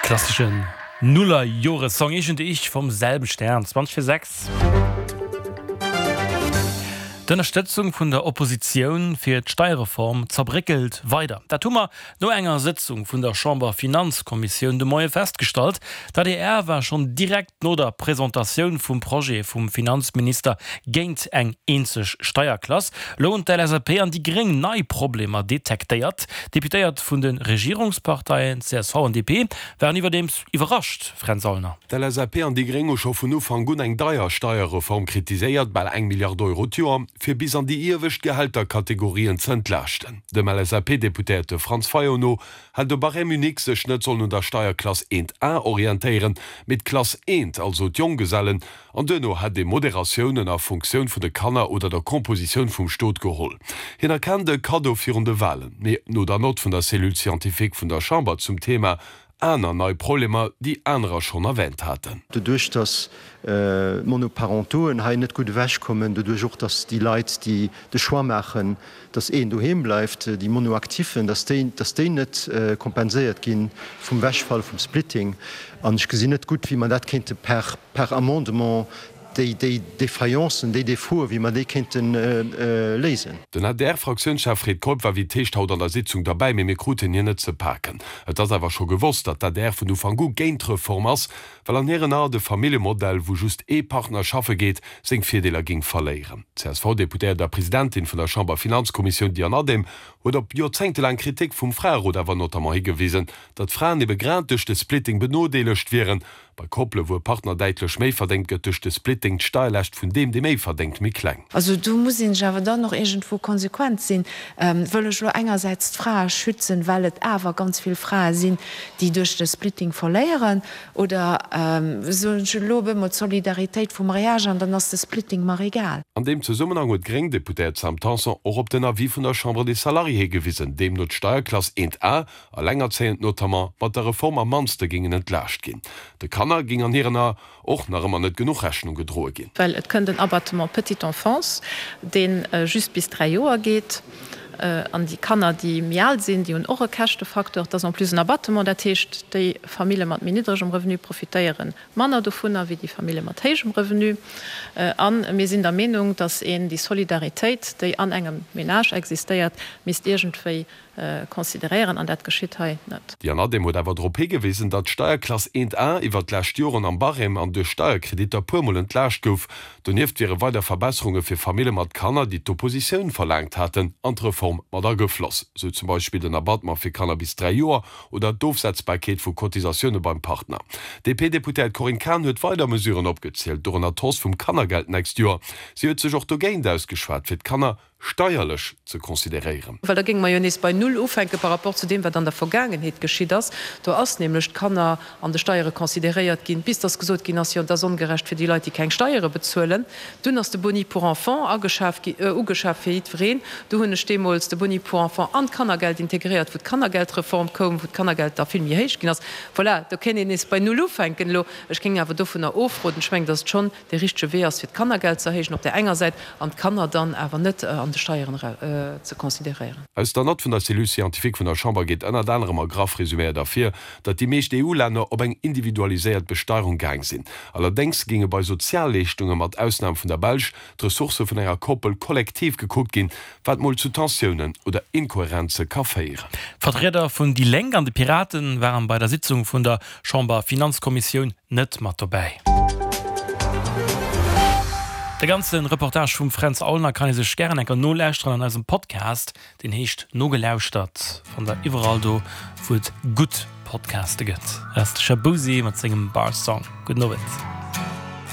Klasseschen Nullerjore-Song, Ich und ich vom selben Stern, 20 fir 6. D'Ënnerstëtzung vun der Oppositioun fir d'Steierreform zerbréckelt weider. Dat hu mer no enger Sëtzung vun der Chamber-Finanzkommissioun de Moie festgestallt. D'adr war schonn direkt no der Presentatioun vum Projet vum Finanzminister géint eng eenzeg Steierklass. Elo hunn d'LSAP an déi Gréng nei Problemer detektéiert. D'Deputéiert vun de Regierungsparteien csv an DP waren iwwerdeems iwwerrascht, Fränz Aulner. D'LSAP an déi Gréng hu scho vun Ufank un eng deier Steierreform kritiséiert, bal eng Milliard Euro d'Joer, fir bis an déi iewescht Gehälterkategorien ze entlaaschten. Dem LSAP-Deputéierte Franz Fayot no hätt de Barème unique sech net sollen un der Steierklass 1 A orientéieren, mee d'Klass 1, also d'Jonggesellen, An duerno hätt ee Moderatiounen a Funktioun vun de Kanner oder der Compositioun vum Stot geholl. Hien erkennt e Kaddo virun de Walen, mee no der Nott vun der Cellule scientifique vun der Chamber zum Thema aner nei Problemer, déi anerer schonn erwähnt haten. Doduerch datt d'Monoparentoen hei net gutt ewechkommen, doduerch och datt déi Leit, déi de Choix maachen, datt een doheem bleift, déi Monoactifen, datt déi, datt déi net kompenséiert gi vum Wechfall vum Splitting. An ech gesinn net gutt, wéi mer dat kéinte per per Amendement déi, déi Défaillances, déi Défauts, wéi mer déi kéinte léisen. Den ADR-Fraktiounschef Fred Keup war wéi et heescht haut an der Sitzung derbäi, mee mir kruten hien net ze paken. Et ass awer scho gewosst, datt d'ADR vun Ufank u géint d'Reform ass, well an hiren Ae de Familljemodell, wou just ee Partner schaffe geet, seng Virdeeler géing verléieren. D'CSV-Deputéiert a Presidentin vun der Chamberfinanzkommissioun Diane Adehm huet op joerzéngtelaang Kritik vum Fraerot awer notamment higewisen, datt Fraen ebe grad duerch de Splitting benodeelegt wieren. Bei Koppele wou e Partner däitlech méi verdéngt, gëtt duerch de Splitting d'Steierlaascht vun deem, dee méi verdéngt, méi kleng. Also do muss een sech awer dann och iergendwou konsequent sinn. Wëll ech elo engersäits d'Frae schützen, well et awer ganz vill Frae sinn, déi duerch de Splitting verléieren, oder soen ech elo op eemol d'Solidaritéit vum Mariage an dann ass de Splitting mer egal. An deem Zesummenhang huet d'gréng Deputéiert Sam Tanson och op den Avis vun der Chambre des Salariés higewisen, deemno d'Steierklass 1 A, Allengerzéiend notamment, mat der Reform am mannste géingen entlaascht ginn. De Kanner géing an hiren Ae och nach ëmmer net genuch Rechnung gedroe ginn. Well et kënnt en Abattement petite enfance, dee just bis 3 Joer geet. An déi Kanner, déi méi al sinn, déi hunn och e Käschtefacteur. Et ass en plus en Abattement, dat heescht, déi Famille mat méi niddregem Revenu profitéiere manner dovunner wéi déi Famille mat héijem Revenu. A mir sinn der Meenung, datt een déi Solidaritéit, déi an engem Ménage existéiert, misst iergendwéi consideréieren, an dat geschitt hei net. D'Diane Adehm huet awer drop higewisen, datt d'Steierklass 1 A iwwert d'lescht Joren am Barème an duerch Steierkreditter puermol entlaascht gouf. Donieft wiere weider Verbesserunge fir Famille mat Kanner, déi d'Oppositioun verlaangt haten, an d'Reform mat agefloss, sou zum Beispill den Abattement fir Kanner bis 3 Joer oder d'Ofsetzbarkeet vu Cotisatioune beim Partner. D'DP-Deputéiert Corinne Cahen huet weider Mesuren opgezielt, dorënner d'Hausse vum Kannergeld d'nächst Joer. Si huet sech och dogéint ausgeschwat, fir d'Kanner steierlech ze consideréieren. Well da géinge mer jo nees bei Null ufänke par rapport zu deem, wat an der Vergaangenheet geschitt ass. Do ass nämlech d'Kanner an de Steiere consideréiert ginn, bis dass gesot ginn ass, jo, et ass ongerecht fir déi Leit, déi keng Steiere bezuelen. Dunn ass de Boni pour enfant ageschaf gi, ugeschaf fir jiddwereen. Do hunn ech deemools de Boni pour enfant an d'Kannergeld integréiert, wou d'Kannergeldreform koum, wou d'Kannergeld da vill méi héich ginn ass. Voilà, do kéint een nees bei Null ufänken elo. Ech géing awer dovunner ofroden. Ech mengen, dass et schonn dee richtege Wee ass, fir d'Kannergeld ze erhéijen op där enger Säit an d'Kanner dann awer net an de Steieren ze consideréieren. Aus der Nott vun der Cellule scientifique vun der Chamber geet ënnert anerem a graff resuméiert ervir, datt déi meescht EU-Länner op eng individualiséiert Besteierung gaang sinn. Allerdéngs géinge bei Sozialleeschtunge, mat Ausnam vun der Belsch, d'Ressourcë vun enger Koppel kollektiv gekuckt ginn, wat mol zu Tensiounen oder Inkohärenze ka féieren. D'Vertrieder vun déi Lénk an de Piraten waren bei der Sitzung vun der Chamber-Finanzkommissioun net mat dobäi. De ganze Reportage vum Fränz Aulner kann ee sech gären enker nolauschteren an eisem Podcast, deen heescht Nogelauschtert. Fannt der iwwerall do, wou et gutt Podcaste gëtt. Dat ass de Shaboozey mat sengem Bar Song. Gudden Owend.